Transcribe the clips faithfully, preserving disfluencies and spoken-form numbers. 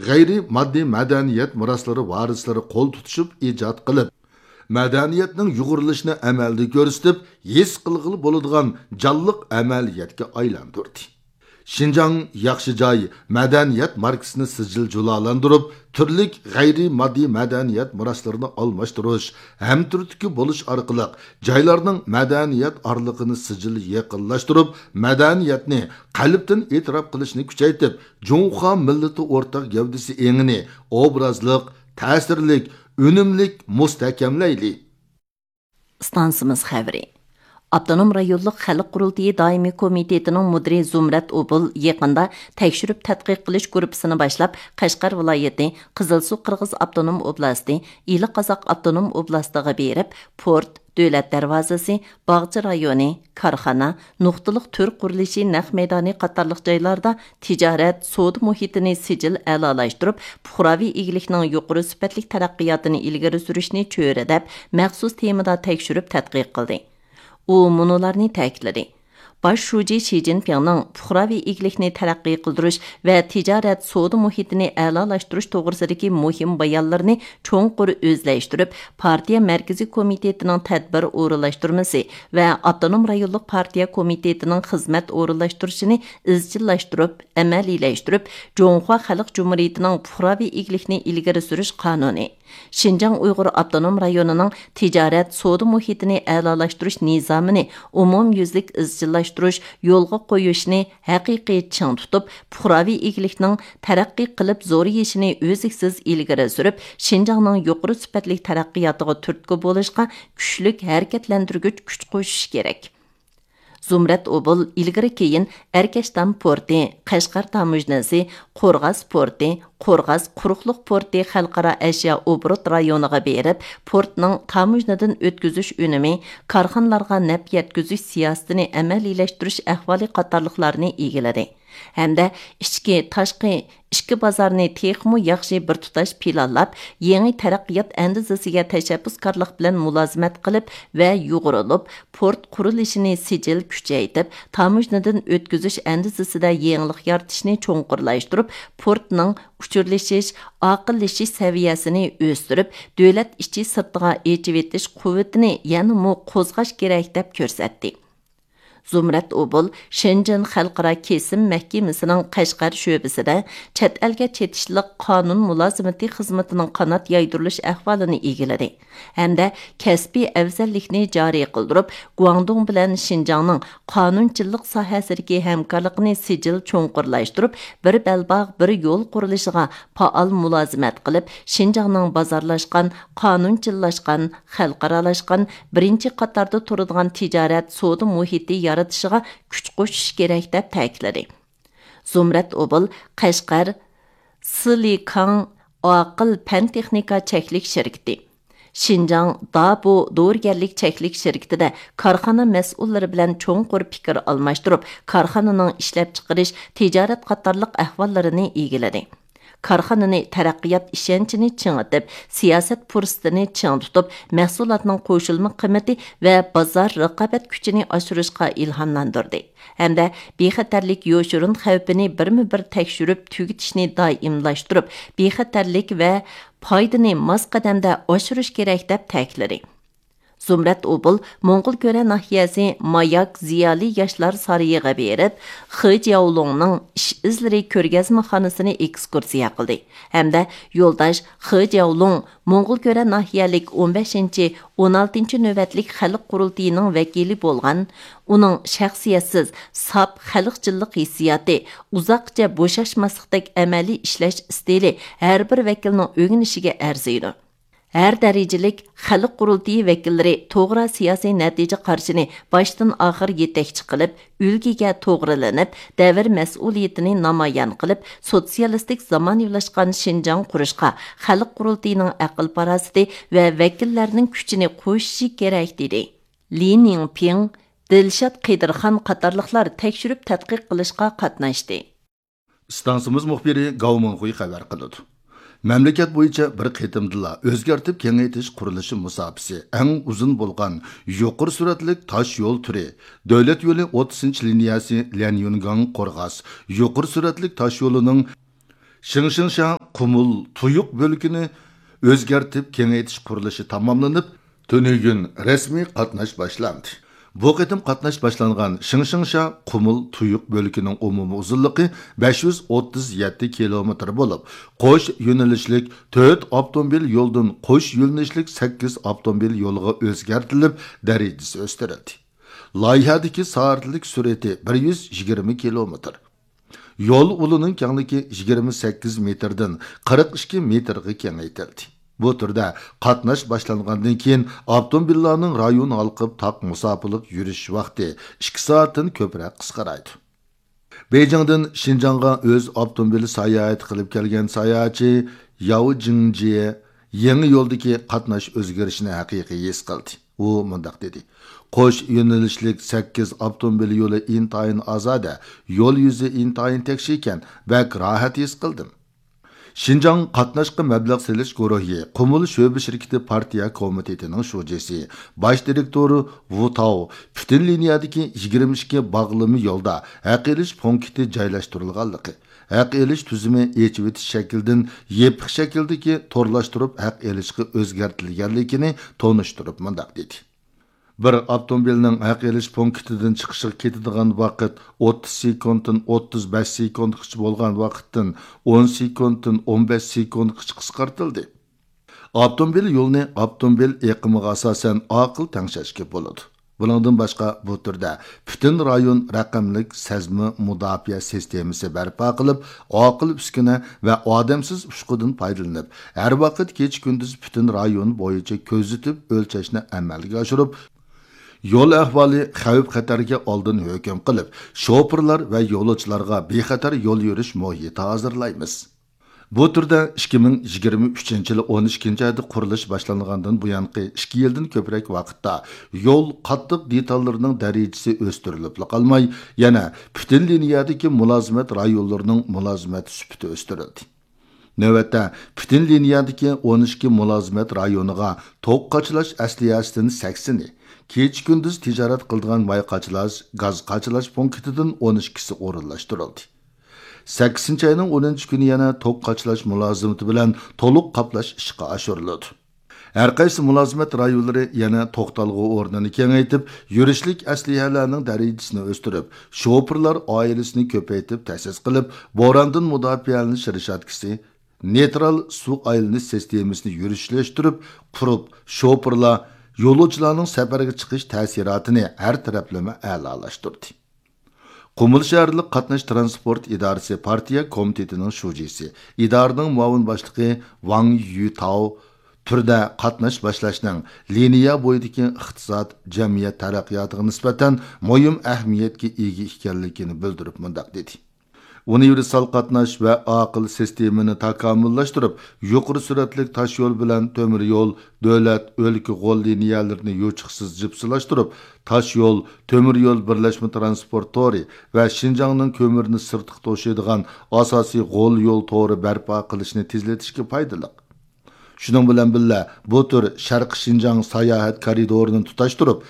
غەيرىي ماددىي مەدەنىيەت مىراسلىرى ۋارىسلىرى قول تۇتۇشۇپ ئىجاد قىلىپ، مەدەنىيەتنىڭ يۇغۇرۇلۇشىنى ئەمەلدە كۆرسىتىپ، ھېس قىلغىلى بولىدىغان جانلىق ئەمەلىيەتكە ئايلاندۇردى. شىنجاڭ ياخشى جاي مەدەنىيەت ماركىسىنى سىجىل جۇلالاندۇرۇپ، تۈرلۈك غەيرىي ماددىي مەدەنىيەت مىراسلىرىنى ئالماشتۇرۇش، ھەمتۈرتكە بولۇش ئارقىلىق جايلارنىڭ مەدەنىيەت ئارىلىقىنى سىجىل يېقىنلاشتۇرۇپ، مەدەنىيەتنى قەلبتىن ئېتىراپ قىلىشنى كۈچەيتىپ، جۇڭخۇا مىللىتى ئورتاق گەۋدىسى ئېڭىنى ئوبرازلىق، تەسىرلىك، ئۈنۈملۈك مۇستەھكەملەيلى. ئىستانسىمىز خەۋىرى. ئاپتونوم رايونلۇق خەلق قۇرۇلتىيى دائىمىي كومىتېتىنىڭ مۇدىرى زۇمرەت ئوبۇل يېقىندا تەكشۈرۈپ تەتقىق قىلىش گۇرۇپپىسىنى باشلاپ، قەشقەر ۋىلايىتى، قىزىلسۇ قىرغىز ئاپتونوم ئوبلاستى، ئىلى قازاق ئاپتونوم ئوبلاستىغا بېرىپ، پورت، دۆلەت دەرۋازىسى، باغچە رايونى، كارخانا، نۇقتىلىق تۈر قۇرۇلۇشى نەق مەيدانى قاتارلىق جايلاردا تىجارەت، سودا مۇھىتىنى سىجىل ئەلالاشتۇرۇپ، پۇقراۋى ئىگىلىكنىڭ يۇقىرى سۈپەتلىك تەرەققىياتىنى ئىلگىرى سۈرۈشنى چۆرىدەپ، مەخسۇس تېمىدا تەكشۈرۈپ تەتقىق قىلدى. ئۇ مۇنۇلارنى تەكىتلىدى: باش شۇجى شى جىنپىڭنىڭ پۇقراۋى ئىگىلىكنى تەرەققىي قىلدۇرۇش ۋە تىجارەت، سودا مۇھىتىنى ئەلالاشتۇرۇش توغرىسىدىكى مۇھىم بايانلىرىنى چوڭقۇر ئۆزلەشتۈرۈپ، پارتىيە مەركىزىي كومىتېتىنىڭ تەدبىر ئورۇنلاشتۇرمىسى ۋە ئاپتونوم رايونلۇق پارتىيە كومىتېتىنىڭ خىزمەت ئورۇنلاشتۇرۇشىنى ئىزچىللاشتۇرۇپ، ئەمەلىيلەشتۈرۈپ، جۇڭخۇا خەلق جۇمھۇرىيىتىنىڭ پۇقراۋى ئىگىلىكنى ئىلگىرى سۈرۈش قانۇنى، شىنجاڭ ئۇيغۇر ئاپتونوم رايونىنىڭ تىجارەت، سودا مۇھىتىنى ئەلالاشتۇرۇش نىزامىنى ئومۇميۈزلۈك ئىزچىللاشتۇرۇش، يولغا قويۇشنى ھەقىقىي چىڭ تۇتۇپ، پۇقراۋى ئىگىلىكنىڭ تەرەققىي قىلىپ زورىيىشىنى ئۈزلۈكسىز ئىلگىرى سۈرۈپ، شىنجاڭنىڭ يۇقىرى سۈپەتلىك تەرەققىياتىغا تۈرتكە بولۇشقا كۈچلۈك ھەرىكەتلەندۈرگۈچ كۈچ قوشۇش كېرەك. زۇمرەت ئوبۇل ئىلگىرى كېيىن ئەركەشتام پورتى، قەشقەر تاموژنىسى، قورغاس پورتى، قورغاس قۇرۇقلۇق پورتى خەلقئارا ئەشيا ئوبوروت رايونىغا بېرىپ، پورتنىڭ تاموژنىدىن ئۆتكۈزۈش ئۈنۈمى، كارخانىلارغا نەپ يەتكۈزۈش سىياسىتىنى ئەمەلىيلەشتۈرۈش ئەھۋالى قاتارلىقلارنى ئىگىلىدى ھەمدە ئىچكى، تاشقى ئىككى بازارنى تېخىمۇ ياخشى بىر تۇتاش پىلانلاپ، يېڭى تەرەققىيات ئەندىزىسىگە تەشەببۇسكارلىق بىلەن مۇلازىمەت قىلىپ ۋە يۇغۇرۇلۇپ، پورت قۇرۇلۇشىنى سىجىل كۈچەيتىپ، تاموژنىدىن ئۆتكۈزۈش ئەندىزىسىدە يېڭىلىق يارىتىشنى چوڭقۇرلاشتۇرۇپ، پورتنىڭ ئۇچۇرلىشىش، ئاقىللىشىش سەۋىيەسىنى ئۆستۈرۈپ، دۆلەت ئىچى سىرتىغا ئېچىۋېتىش قۇۋۋىتىنى يەنىمۇ قوزغاش كېرەك، دەپ كۆرسەتتى. زۇمرەت ئوبۇل شېنجېن خەلقئارا كېسىم مەھكىمىسىنىڭ قەشقەر شۆبىسىدە چەت ئەلگە چېتىشلىق قانۇن مۇلازىمىتى خىزمىتىنىڭ قانات يايدۇرۇلۇش ئەھۋالىنى ئىگىلىدى ھەمدە كەسپىي ئەۋزەللىكنى جارى قىلدۇرۇپ، گۇاڭدۇڭ بىلەن شىنجاڭنىڭ قانۇنچىلىق ساھەسىدىكى ھەمكارلىقىنى سىجىل چوڭقۇرلاشتۇرۇپ، بىر بەلباغ، بىر يول قۇرۇلۇشىغا پائال مۇلازىمەت قىلىپ، شىنجاڭنىڭ بازارلاشقان، قانۇنچىللاشقان، خەلقئارالاشقان، بىرىنچى قاتاردا تۇرىدىغان تىجارەت، سودا مۇھىتى يارىتىشىغا كۈچ قوشۇش كېرەك، دەپ تەكىتلىدى. زۇمرەت ئوبۇل قەشقەر سىلىكاڭ ئاقىل پەن تېخنىكا چەكلىك شىركىتى، شىنجاڭ دابۇ دورىگەرلىك چەكلىك شىركىتىدە كارخانا مەسئۇللىرى بىلەن چوڭقۇر پىكىر ئالماشتۇرۇپ، كارخانىنىڭ ئىشلەپچىقىرىش، تىجارەت قاتارلىق ئەھۋاللىرىنى ئىگىلىدى. كارخانىنى تەرەققىيات ئىشەنچىنى چىڭىتىپ، سىياسەت پۇرسىتىنى چىڭ تۇتۇپ، مەھسۇلاتنىڭ قوشۇلما قىممىتى ۋە بازار رىقابەت كۈچىنى ئاشۇرۇشقا ئىلھاملاندۇردى ھەمدە بىخەتەرلىك يوشۇرۇن خەۋپىنى بىرمۇ بىر تەكشۈرۈپ تۈگىتىشنى دائىملاشتۇرۇپ، بىخەتەرلىك ۋە پايدىنى ماس قەدەمدە ئاشۇرۇش كېرەك، دەپ تەكىتلىدى. زۇمرەت ئوبۇل موڭغۇلكۆرە ناھىيەسى ماياك زىيالىي ياشلار سارىيىغا بېرىپ، خې جياۋلۇڭنىڭ ئىش ئىزلىرى كۆرگەزمىخانىسىنى ئېكسكۇرسىيە قىلدى ھەمدە يولداش خې جياۋلۇڭ موڭغۇلكۆرە ناھىيەلىك ئون بەشىنچى، ئون ئالتىنچى نۆۋەتلىك خەلق قۇرۇلتىيىنىڭ ۋەكىلى بولغان، ئۇنىڭ شەخسىيەتسىز، ساپ خەلقچىللىق ھېسسىياتى، ئۇزاققىچە بوشاشماسلىقتەك ئەمەلىي ئىشلەش ئىستىلى ھەر بىر ۋەكىلنىڭ ئۆگىنىشىگە ئەرزىيدۇ. ھەر دەرىجىلىك خەلق قۇرۇلتىيى ۋەكىللىرى توغرا سىياسىي نەتىجە قارىشىنى باشتىن ئاخىر يېتەكچى قىلىپ، ئۈلگىگە توغرىلىنىپ، دەۋر مەسئۇلىيىتىنى نامايان قىلىپ، سوتسىيالىستىك زامانىۋىلاشقان شىنجاڭ قۇرۇشقا خەلق قۇرۇلتىيىنىڭ ئەقىل-پاراسىتى ۋە ۋەكىللەرنىڭ كۈچىنى قوشۇشى كېرەك، دېدى. لى نىڭپىڭ، دىلشات قېدىرخان قاتارلىقلار تەكشۈرۈپ تەتقىق قىلىشقا قاتناشتى. ئىستانسىمىز مۇخبىرى گاۋ مىڭخۇي خەۋەر قىلىدۇ. مەملىكەت بويىچە بىر قېتىمدىلا ئۆزگەرتىپ كېڭەيتىش قۇرۇلۇشى مۇساپىسى ئەڭ ئۇزۇن بولغان يۇقىرى سۈرئەتلىك تاش يول تۈرى، دۆلەت يولى ئوتتۇزىنچى لىنىيەسى ليەنيۈنگاڭ قورغاس يۇقىرى سۈرئەتلىك تاش يولىنىڭ شىڭشىڭشيا قۇمۇل تۇيۇق بۆلىكىنى ئۆزگەرتىپ كېڭەيتىش قۇرۇلۇشى تاماملىنىپ، تۈنۈگۈن رەسمىي قاتناش باشلاندى. بۇ قېتىم قاتناش باشلانغان شىڭشىڭشا قۇمۇل تۇيۇق بۆلىكىنىڭ ئومۇمىي ئۇزۇنلۇقى بەش يۈز ئوتتۇز يەتتە كىلومېتىر بولۇپ، قوش يۆنىلىشلىك تۆت ئاپتوموبىل يولدىن قوش يۆنىلىشلىك سەككىز ئاپتوموبىل يولىغا ئۆزگەرتىلىپ، دەرىجىسى ئۆستۈرۈلدى. لايىھەدىكى سائەتلىك سۈرئىتى بىر يۈز يىگىرمە كىلومېتىر. يول ئۇلىنىڭ كەڭلىكى يىگىرمە سەككىز مېتىردىن قىرىق ئىككى مېتىرغا كېڭەيتىلدى. بۇ تۈردە قاتناش باشلانغاندىن كېيىن، ئاپتوموبىللارنىڭ رايون ھالقىپ تاق مۇساپىلىق يۈرۈش ۋاقتى ئىككى سائەتتىن كۆپرەك قىسقىرايدۇ. بېيجىڭدىن شىنجاڭغا ئۆز ئاپتوموبىلى ساياھەت قىلىپ كەلگەن ساياھەتچى ياۋ جىڭجيې يېڭى يولدىكى قاتناش ئۆزگىرىشىنى ھەقىقىي ھېس قىلدى. ئۇ مۇنداق دېدى: «قوش يۆنىلىشلىك سەككىز ئاپتوموبىل يولى ئىنتايىن ئازادە، يول يۈزى ئىنتايىن تەكشىكەن، بەك راھەت ھېس قىلدىم.» شىنجاڭ قاتناشقا مەبلەغ سېلىش گۇرۇھى قۇمۇل شۆبە شىركىتى پارتىيە كومىتېتىنىڭ شۇجىسى، باش دىرېكتورى ۋۇ تاۋ پۈتۈن لىنىيەدىكى يىگىرمە ئىككى باغلىما يولدا ھەق ئېلىش پونكىتى جايلاشتۇرۇلغانلىقى، ھەق ئېلىش تۈزۈمى ئېچىۋېتىش شەكلىدىن يېپىق شەكىلدىكى تورلاشتۇرۇپ ھەق ئېلىشقا ئۆزگەرتىلگەنلىكىنى تونۇشتۇرۇپ مۇنداق دېدى: «بىر ئاپتوموبىلنىڭ ھەق ئېلىش پونكىتىدىن چىقىشىغا كېتىدىغان ۋاقىت ئوتتۇز سېكۇنتتىن ئوتتۇز بەش سېكۇنتقىچە بولغان ۋاقىتتىن ئون سېكۇنتتىن ئون بەش سېكۇنتقىچە قىسقارتىلدى.» ئاپتوموبىل يولىنى ئاپتوموبىل ئېقىمىغا ئاساسەن ئاقىل تەڭشەشكە بولىدۇ. بۇنىڭدىن باشقا، بۇ تۈردە پۈتۈن رايون رەقەملىك سەزمە مۇداپىئە سىستېمىسى بەرپا قىلىپ، ئاقىل ئۈسكۈنە ۋە ئادەمسىز ئۇچقۇدىن پايدىلىنىپ، ھەر ۋاقىت كېچە-كۈندۈز پۈتۈن رايون بويىچە كۆزىتىپ ئۆلچەشنى ئەمەلگە ئاشۇرۇپ، يول ئەھۋالى، خەۋپ-خەتەرگە ئالدىن ھۆكۈم قىلىپ، شوپۇرلار ۋە يولۇچىلارغا بىخەتەر يول يۈرۈش مۇھىتى ھازىرلايمىز. بۇ تۈردە ئىككى مىڭ يىگىرمە ئۈچىنچى يىلى ئون ئىككىنچى ئايدا قۇرۇلۇش باشلانغاندىن بۇيانقى ئىككى يىلدىن كۆپرەك ۋاقىتتا يول قاتتىق دېتاللىرىنىڭ دەرىجىسى ئۆستۈرۈلۈپلا قالماي، يەنە پۈتۈن لىنىيەدىكى مۇلازىمەت رايونلىرىنىڭ مۇلازىمەت سۈپىتى ئۆستۈرۈلدى. نۆۋەتتە پۈتۈن لىنىيەدىكى ئون ئىككى مۇلازىمەت رايونىغا توك قاچىلاش ئەسلىھەسىدىن سەكسىنى، كېچە-كۈندۈز تىجارەت قىلىدىغان ماي قاچىلاش، گاز قاچىلاش پونكىتىدىن ئون ئىككىسى ئورۇنلاشتۇرۇلدى. سەككىزىنچى ئاينىڭ ئونىنچى كۈنى يەنە توك قاچىلاش مۇلازىمىتى بىلەن تولۇق قاپلاش ئىشقا ئاشۇرۇلىدۇ. ھەر قايسى مۇلازىمەت رايونلىرى يەنە توختالغۇ ئورنىنى كېڭەيتىپ، يۈرۈشلۈك ئەسلىھەلەرنىڭ دەرىجىسىنى ئۆستۈرۈپ، شوپۇرلار ئائىلىسىنى كۆپەيتىپ تەسىس قىلىپ، بوراندىن مۇداپىئەلىنىش رېشاتكىسى، نېيترال سۇ ئايلىنىش سىستېمىسىنى يۈرۈشلەشتۈرۈپ قۇرۇپ، شوپۇرلار، يولۇچىلارنىڭ سەپەرگە چىقىش تەسىراتىنى ھەر تەرەپلىمە ئەلالاشتۇردى. قۇمۇل شەھەرلىك قاتناش تىرانسپورت ئىدارىسى پارتىيە كومىتېتىنىڭ شۇجىسى، ئىدارىنىڭ مۇئاۋىن باشلىقى ۋاڭ يۈتاۋ تۈردە قاتناش باشلاشنىڭ لىنىيە بويىدىكى ئىقتىساد، جەمئىيەت تەرەققىياتىغا نىسبەتەن مۇھىم ئەھمىيەتكە ئىگە ئىكەنلىكىنى بىلدۈرۈپ مۇنداق دېدى: ئۇنىۋېرسال قاتناش ۋە ئاقىل سىستېمىنى تاكامۇللاشتۇرۇپ، يۇقىرى سۈرئەتلىك تاشيول بىلەن تۆمۈر يول، دۆلەت، ئۆلكە غول لىنىيەلىرىنى يوچۇقسىز جىپسىلاشتۇرۇپ، تاشيول، تۆمۈر يول بىرلەشمە تىرانسپورت تورى ۋە شىنجاڭنىڭ كۆمۈرنى سىرتقا توشۇيدىغان ئاساسىي غول يول تورى بەرپا قىلىشنى تېزلىتىشكە پايدىلىق. شۇنىڭ بىلەن بىللە، بۇ تۈر شەرقىي شىنجاڭ ساياھەت كارىدورىنى تۇتاشتۇرۇپ،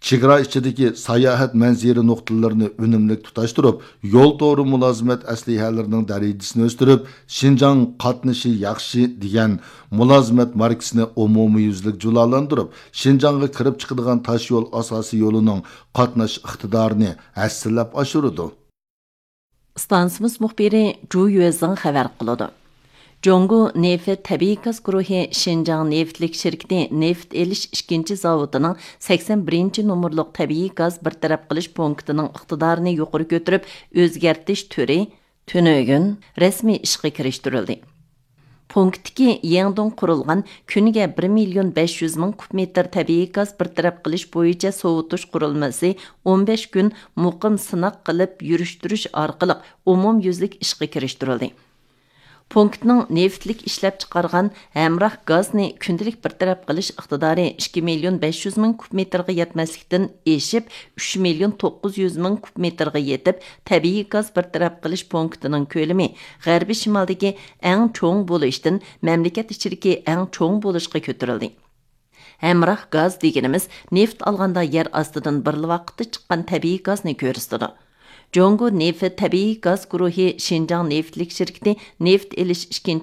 چېگرا ئىچىدىكى ساياھەت مەنزىرە نۇقتىلىرىنى ئۈنۈملۈك تۇتاشتۇرۇپ، يول تورى مۇلازىمەت ئەسلىھەلىرىنىڭ دەرىجىسىنى ئۆستۈرۈپ، شىنجاڭ قاتنىشى ياخشى دېگەن مۇلازىمەت ماركىسىنى ئومۇميۈزلۈك جۇلالاندۇرۇپ، شىنجاڭغا كىرىپ چىقىدىغان تاشيول ئاساسىي يولىنىڭ قاتناش ئىقتىدارىنى ھەسسىلەپ ئاشۇرىدۇ. ئىستانسىمىز مۇخبىرى جۇ يۈەزىڭ خەۋەر قىلىدۇ. جۇڭگو نېفىت تەبىئىي گاز گۇرۇھى شىنجاڭ نېفىتلىك شىركىتى نېفىت ئېلىش ئىككىنچى زاۋۇتىنىڭ سەكسەن بىرىنچى نومۇرلۇق تەبىئىي گاز بىر تەرەپ قىلىش پونكىتىنىڭ ئىقتىدارىنى يۇقىرى كۆتۈرۈپ ئۆزگەرتىش تۈرى تۈنۈگۈن رەسمىي ئىشقا كىرىشتۈرۈلدى. پونكىتتىكى يېڭىدىن قۇرۇلغان كۈنىگە بىر مىليون بەش يۈز مىڭ كۇب مېتىر تەبىئىي گاز بىر تەرەپ قىلىش بويىچە سوۋۇتۇش قۇرۇلمىسى ئون بەش كۈن مۇقىم سىناق قىلىپ يۈرۈشتۈرۈش ئارقىلىق ئومۇميۈزلۈك ئىشقا كىرىشتۈرۈلدى. پونكىتنىڭ نېفىتلىك ئىشلەپچىقارغان ھەمراھ گازنى كۈندىلىك بىر تەرەپ قىلىش ئىقتىدارى ئىككى مىليون بەش يۈز مىڭ كۇب مېتىرغا يەتمەسلىكتىن ئېشىپ، ئۈچ مىليون توققۇز يۈز مىڭ كۇب مېتىرغا يېتىپ، تەبىئىي گاز بىر تەرەپ قىلىش پونكىتىنىڭ كۆلىمى غەربىي شىمالدىكى ئەڭ چوڭ بولۇشتىن مەملىكەت ئىچىدىكى ئەڭ چوڭ بولۇشقا كۆتۈرۈلدى. ھەمراھ گاز دېگىنىمىز نېفىت ئالغاندا يەر ئاستىدىن بىرلا ۋاقىتتا چىققان تەبىئىي گازنى كۆرسىتىدۇ. جۇڭگو نېفىت تەبىئىي گاز گۇرۇھى شىنجاڭ نېفىتلىك شىركىتى نېفىت ئېلىش ئىككىنچى